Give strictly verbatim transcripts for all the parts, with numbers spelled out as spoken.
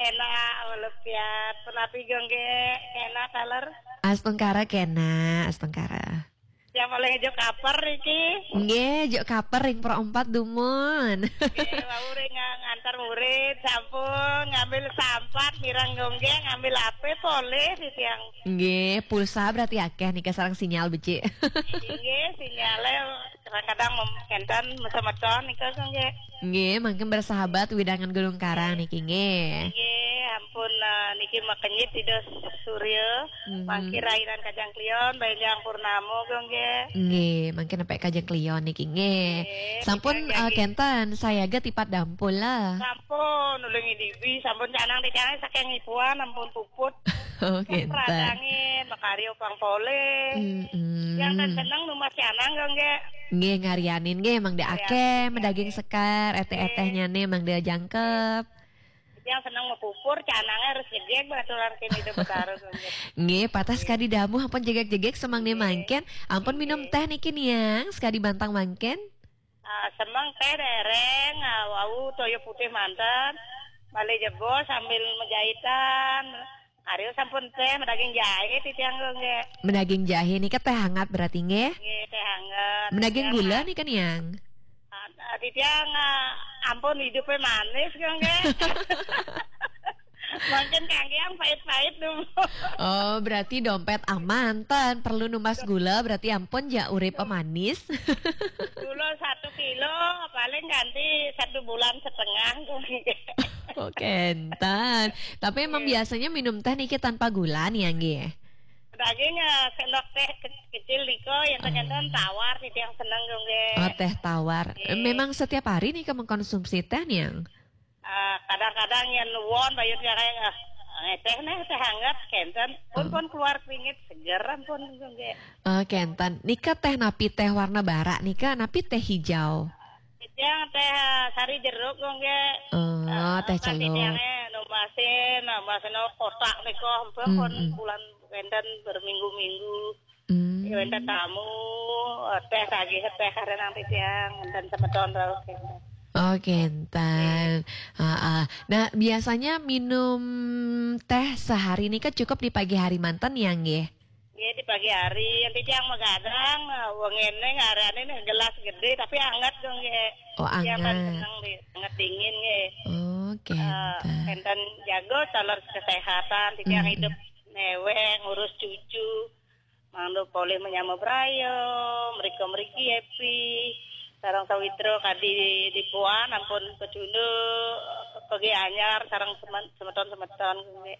Enak, walepiat. Penapi gongge, enak, taler. Astungkara kena, astungkara. Yang paling juk kaper iki. Nggih, juk kaper ring pro empat dumun. Nggih, wau ring nga-, ngantar murid, sampun ngambil sampat, mirang gongge, ngambil ape, polih, titiang. Nggih, pulsa berarti akeh nika sareng sinyal becik. Nggih, sinyale kadang-kadang mem-, enten mesemeton nika, nggih. Nggih, mangkin bersahabat widangan Gunung Karang niki, nggih. Nggih, ampun, eh, niki makenyit Ida Surya, mhm, mangkin rainan Kajang Kliwon, Benjang Purnama, nggih. Nggih, mangkin nepek Kajang Kliwon niki, nggih. Nggih, sampun, nggih, eh, nggih. Kenten, sayaga tipat dampul lah. Sampun, ulih ngidibi, sampun canang titiange saking ipuan, ampun puput. Oh, kenten. Radangin, makarya pang polih. Mm-mm. Yang kan seneng numbas canang, nggih. Nggih, ngarianin nggih, mangda akeh, nggih, medaging sekar, eteh-etehnyane mangda jangkep. Yang seneng mapupur, canange harus jegeg, baturan kene itu Betara, nggih. Nggih, patah sekadi damuh, ampun jegeg-jegeg, semang ne mangken, ampun minum teh niki, Niang, sekadi bantang mangken. Ah, semeng teh dereng, ah, wau toya putih manten. Balik jebos sambil mejahitan. Aryo sampun teh medaging jahe titiang, nggih. Medaging jahe nika teh hangat berarti, nggih? Nggih, teh hangat. Medaging gula nika, Niang? Ah, ah, titiang, ah, ampun hidupe manis, nggih. Mungkin kangge yang pahit-pahit dulu. Oh, berarti dompet aman, ten perlu numbas gula, berarti ampun ja urip manis. Gula satu kilo, paling ganti satu bulan setengah. Oh, kenten. Tapi emang biasanya minum teh niki tanpa gula nih, ya, nggih? Daging, eh, sendok teh ke-, kecil niko, yang ternyata tawar, titiang seneng, nggih. Oh, teh tawar. Nggih. Memang setiap hari nih mengkonsumsi teh, Niang? Ah, kadang-kadang yen won bayut ya kayak, ah, teh neh, teh hangat, kenten. Pun, oh, pun keluar keringet, seger, ampun, nggih. Oh, kenten. Nika teh napi, teh warna barak nika, napi teh hijau? Yang teh, ah, sari jeruk, nggih. Oh, ah, teh kan celuk. Titiange numbasin, numbasin kotak nika, ampun, pun, mm-mm, bulan kenten berminggu-minggu. Hmm. Ya, wenten tamu, eh, teh lagi, teh karena nanti siang, dan semeton terus, kenten. Oh, kenten. Heeh. Nah, biasanya minum teh sehari ini kan cukup di pagi hari manten ya, nggih? Iya, di pagi hari. Nanti siang magadang, eh, wengene ngarane nih gelas gede, tapi anget dong, nggih. Oh, yang paling anget. Seneng di, anget dingin, nggih. Oh, eh, kenten. Kenten jago, taler kesehatan, di siang, mm-mm, hidup meweng, ngurus cucu. Mangda polih menyama braya, mrika mriki happy. Sareng sawitra kadi dipuan ampun pecunduk, pegi anyar, sareng semen-, semeton-semeton, nggih.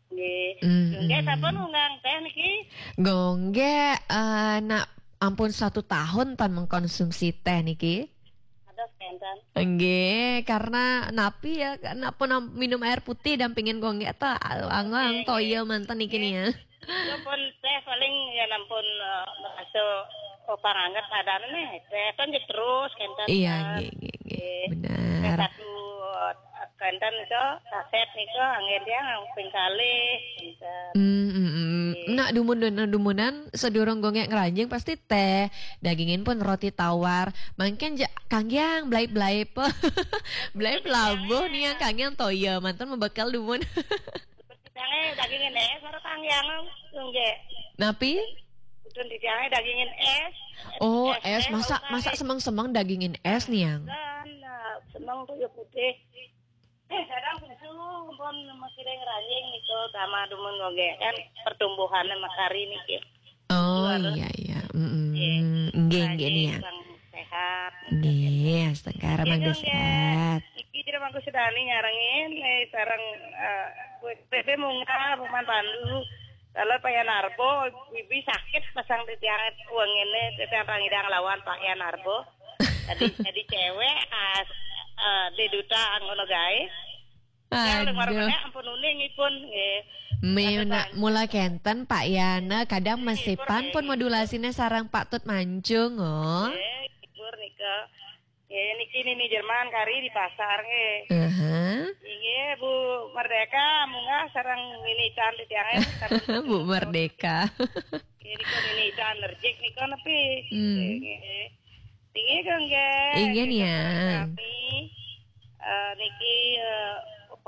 Nggih. Mm-mm. Nggih, sampun unggang teh niki? Nggih, eh, nak ampun satu tahun tan mengkonsumsi teh niki. Aduh, kenten. Nggih, karena napi ya, nak pun am-, minum air putih dampingin gongge ta, anggo, nggih, toya manten niki, nggih, nih ya. Itu pun teh paling ya nampun, eh, merasa, oh, panganget badan nih. Teh kan ya terus, kenten. Iya, eh, nggih, nggih, nggih. Nggih. Benar. Teh satu, eh, kenten itu, saset nih, anggen dia ping kalih, kenten. Hmm, hmm, hmm. Nggih. Nak dumun, nak dumunan, sedurung gongge ngranjing pasti teh, dagingin pun roti tawar. Mangkin ja-, kanggiang, blaip-blaip. Blaip labuh nih yang kanggiang toya, manten mebekal dumun. Jange dagingin es, ora kanggiang, nggih. Napi? Udun di jange dagingin es. Oh, es, es, es, masak, masak semeng-semeng dagingin es, Niang? Dan, eh, semeng toya putih. Eh, kadang susu, pun masih ada yang ranjing itu sama dumun, nggih. Kan pertumbuhannya makari niki. Oh, iya, iya. Mm-mm. Nggih, nggih, Niang. Yang sehat. Nggih, astungkara, mangga sehat. Iki jero mangku sedani nyarengin, eh, sareng, eh, P P munggah, Paman Pandu. Kalau Pak Yanarbo, bibi sakit pasang di tiang uang ini, di tiang Rangidang lawan Pak Yanarbo. Tadi, tadi cewek, ah, eh, di duta anggono gae. Aduh. Ampun uning ipun, nggih. Mula kenten, Pak Yana, kadang mesipan pun modulasine sareng Pak Tut Mancung, oh. Nggih, libur nika. Nggih, niki Nini Jerman kari di pasar, nggih. Aha. Nggih, Bu Merdeka, munggah sareng Nini Ican di tiange, sareng Bu Merdeka. Nggih, nika Nini Ican nerjik nika nepi. Hmm. Nggih. Nggih, nggih. Inggih, Niang. Sami, eh, niki, eh,